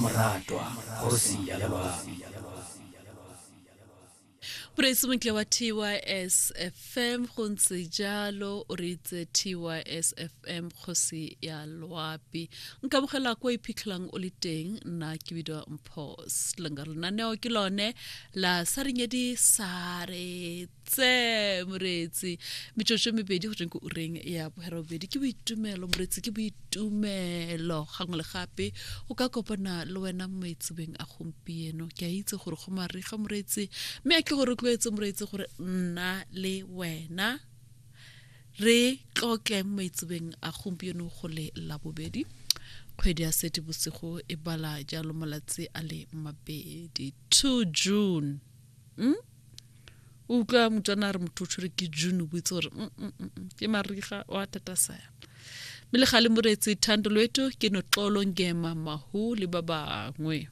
mmamoratwa kgosi ya loapi. Moreetsi montle wa TYS FM go ntse jalo o reitse TYS FM kgosi ya loapi nkamogela kwa iphitlhelang o le teng nna ke bidiwa Mpho Slinger lenaneo ke lone la sarenyedi sare tse moreetsi metsotso e mebedi go tsweng ko ureng ya boherobedi ke boitumelo moreetsi ke boitumelo gangwe le gape o ka kopana le wena mo maitsebeng a gompieno ke a itse gore go mariga moreetsi mme a ke go rotloetse moreetsi gore nna le wena re tlotle mo maitsebeng a gompieno go le labobedi kgwedi ya sete bosigo e bala jalo malatsi a le mabedi 2 June mm? o utlwa motswana a re motho o tshwere ke june o itse gore mm, mm, mm, ke mariga o a tatasaya mme le gale moreetsi thando loeto ke noxolo ngema mahu le ba bangwe.